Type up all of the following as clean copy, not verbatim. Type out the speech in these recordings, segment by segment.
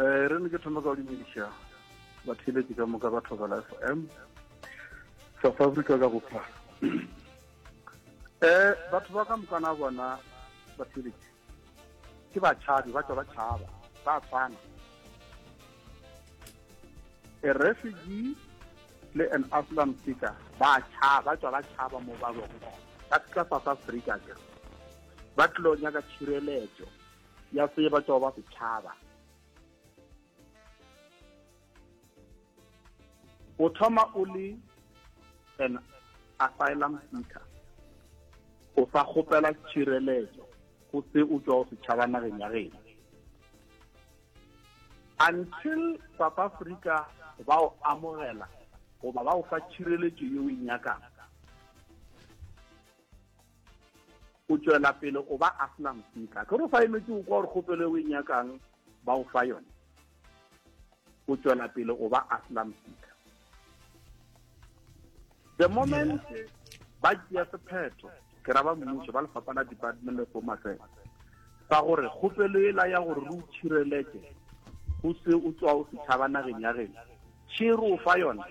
Eh, re ne ke thoma ka go dumediša batheeletši ka moka ba Thobela FM South Africa ka bophara. Eh, batho ba ka mokana bona batheeletši ke batšhabi ba tšwa ba tšhaba ba tshwana. A refugee le an asylum seeker ba tšhaba ba tšwa ba tšhaba mo ba bego ba tla South Africa ke ba tlilo nyaka tšhireletšo ya se ba tšwa ba setšhaba o thoma o le an asylum seeker o sa kgopela tšhireletšo go se o tšwa o setšhaba nageng ya geno until south africa ba o amogela goba ba o fa tšhireletšo ye o e nyakang o tšwela pele o ba asylum seeker ke re o sa emetse o kwa gore kgopelo e o e nyakang ba o fa yone o tšwela pele o ba asylum seeker the moment ba tšea sephetho ke ra ba mmušo ba lefapha la department of home affairs sa gore kgopelo ela ya gore re o tšhireletse go se o tswa o setšhaba nageng ya geno tšhero o fa yona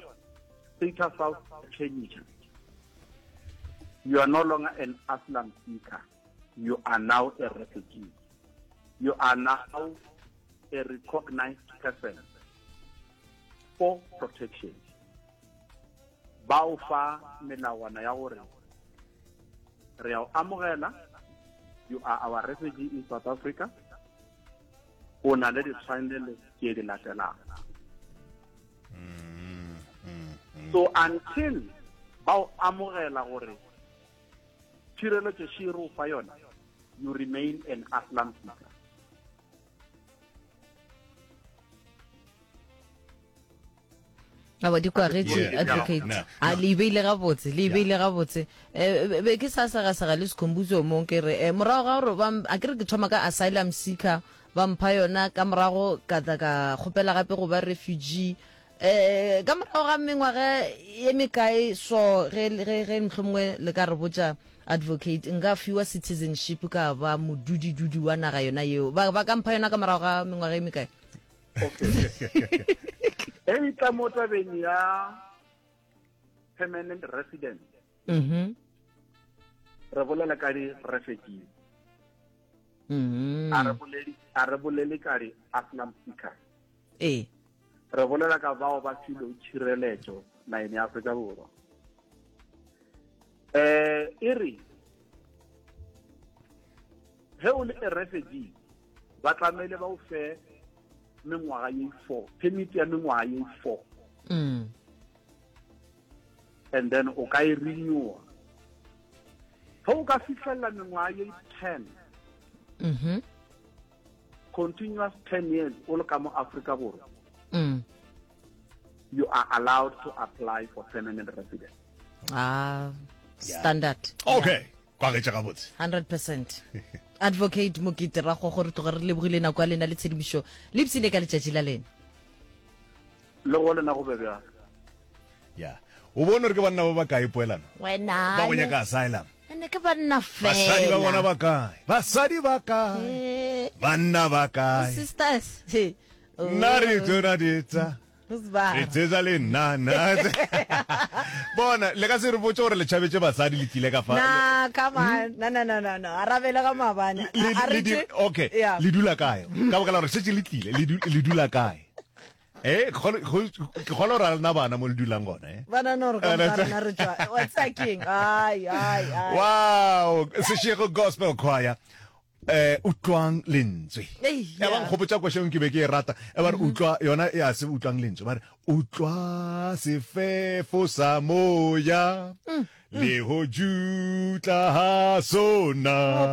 status south change You are no longer an asylum seeker. You are now a refugee. You are now a recognized person for protection. Ba o fa melawana ya gore re a o amogela you are our refugee in South Africa o na le ditshwanelo tše di latelang mm, mm, mm. so until ba o amogela gore tšhireletšo še re o fa yona you remain an asylum seeker aba di kwagetše advocate a le beile gabotse le beile gabotse eh, be ke sa segasega le sekhombuso mong ke re eh, morago ga gore a ke re ke thoma ka asylum seeker Ba mpha yona, ka morago ka tla ka kgopela gape go ba refugee. Eh, ka morago ga mengwaga ye mekae so, ge, ge, ge mohlomongwe le ka re botša, Advocate, nka fiwa citizenship ka ba modudidudi wa naga yona yeo. Ba, ba ka mpha yona ka morago ga mengwaga ye mekae? Okay. E e tla mo tabeng ya permanent residence. Mhm. Re bolela ka di-refugee. Mm. A re bolele a re bolele ka di asylum seekers. Ee. Re bolela ka bao ba filweng tšhireletšo nageng ya Afrika Borwa. Eh e re ge o le a refugee ba tlamehile ba o fe mengwaga ye 4 permit ya mengwaga ye 4 mm. and then o ka e renewa ge o ka fihlelela mengwaga ye 10 mm -hmm. continuous 10 years o le ka mo Afrika Borwa mm. you are allowed to apply for permanent residence ah standard okay yeah. kwagetše gabotse 100% advocate mokete ragogo re tloga re lebogile nako ya lena le tshedimošo le ipsine ka letšatši la lena le go lena go be bjalo ya o bone gore ke banna ba ba kae poelano wena ba go nyaka asylum ene ke banna fela basadi ba bona ba kae basadi ba kae eh. banna ba kae sisters nna re tsona ditsa re tsetsa le nna nna bona le ka se re botse gore le tšhabetse basadi le tlile ka fa na come on hmm? na na na na na arabele ga maabane okay le dula kae ka baka la gore setse le tlile le dula kae Eh, ke kgona gore a lena bana mo le dulang gona eh? Bana no re ka rena re tšwa. What's that king? Ai ai ai. Wow, Seshego Gospel Choir. Eh, utlwang lentswe. Ya ba nkgopotsa košeng ke be ke e rata. E ba re mhm. utlwa yona ya se utlwang lentswe. Ba re utlwa sefefo sa moya. Mm, mm. Le ho jutla ha sona.